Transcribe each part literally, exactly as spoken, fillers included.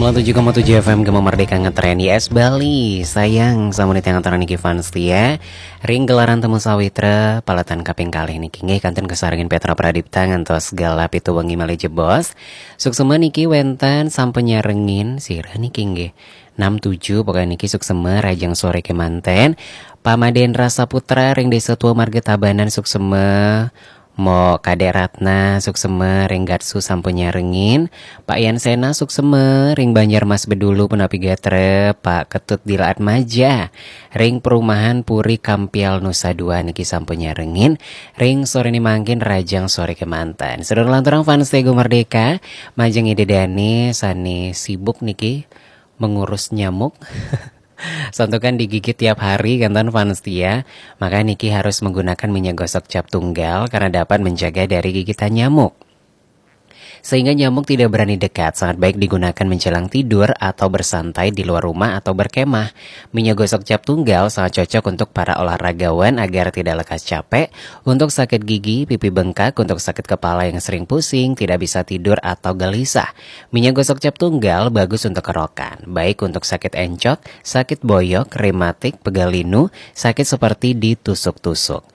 Tujuh koma tujuh F M Gema Merdeka ngetren di S Bali. Sayang sama di tengah niki fans setia. Ring gelaran Temu Sawitra, paletan kaping kalih niki nggih kantun kesarengin Petra Pradipta ngantos gala pitu wengi malih jebos. Suksema niki wenten sampun nyarengin sira niki nggih. Enam tujuh pokoknya niki suksema rajang sore kemanten. Pamadendra Saputra ring Desa Tua Marga Tabanan suksema. Mo Kadek Ratna suksema ring Gatsu sampun nyarengin. Pak Yan Sena suksema ring Banjarmas Bedulu punapi gatra. Pak Ketut Dilaat Maja ring perumahan Puri Kampial Nusa Dua niki sampun nyarengin. Ring sore ni mangkin rajang sore kemanten. Sedulur lanturang fans Tego Merdeka, majeng ida dane sane sibuk niki mengurus nyamuk. Santukan digigit tiap hari kenten fans setia, maka niki harus menggunakan minyak gosok cap tunggal karena dapat menjaga dari gigitan nyamuk. Sehingga nyamuk tidak berani dekat, sangat baik digunakan menjelang tidur atau bersantai di luar rumah atau berkemah. Minyak gosok cap tunggal sangat cocok untuk para olahragawan agar tidak lekas capek, untuk sakit gigi, pipi bengkak, untuk sakit kepala yang sering pusing, tidak bisa tidur atau gelisah. Minyak gosok cap tunggal bagus untuk kerokan, baik untuk sakit encok, sakit boyok, rematik, pegal linu, sakit seperti ditusuk-tusuk.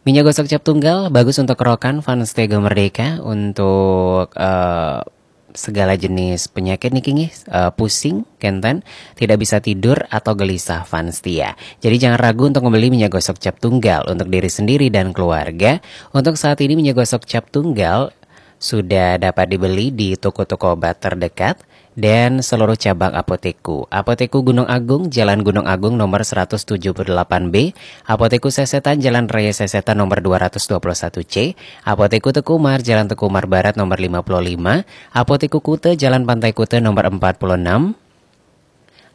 Minyak gosok cap tunggal bagus untuk kerokan fans Tego Merdeka, untuk eh, segala jenis penyakit niki nggih, eh, pusing, kenten, tidak bisa tidur atau gelisah fans setia. Jadi jangan ragu untuk membeli minyak gosok cap tunggal untuk diri sendiri dan keluarga. Untuk saat ini minyak gosok cap tunggal sudah dapat dibeli di toko-toko obat terdekat dan seluruh cabang Apotekku. Apotekku Gunung Agung, Jalan Gunung Agung nomor seratus tujuh puluh delapan B, Apotekku Sesetan, Jalan Raya Sesetan nomor dua ratus dua puluh satu C, Apotekku Teku Umar, Jalan Teku Umar Barat nomor lima puluh lima, Apotekku Kuta, Jalan Pantai Kuta nomor empat puluh enam,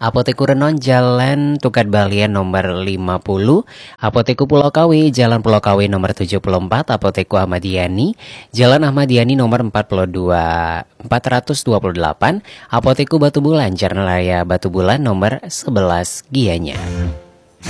Apotekku Renon, Jalan Tukad Balian nomor lima puluh, Apotekku Pulau Kawe, Jalan Pulau Kawe nomor tujuh puluh empat, Apotekku Ahmad Yani, Jalan Ahmad Yani nomor empat puluh dua, empat ratus dua puluh delapan, Apotekku Batubulan, Jalan Raya Batubulan nomor sebelas Gianyar.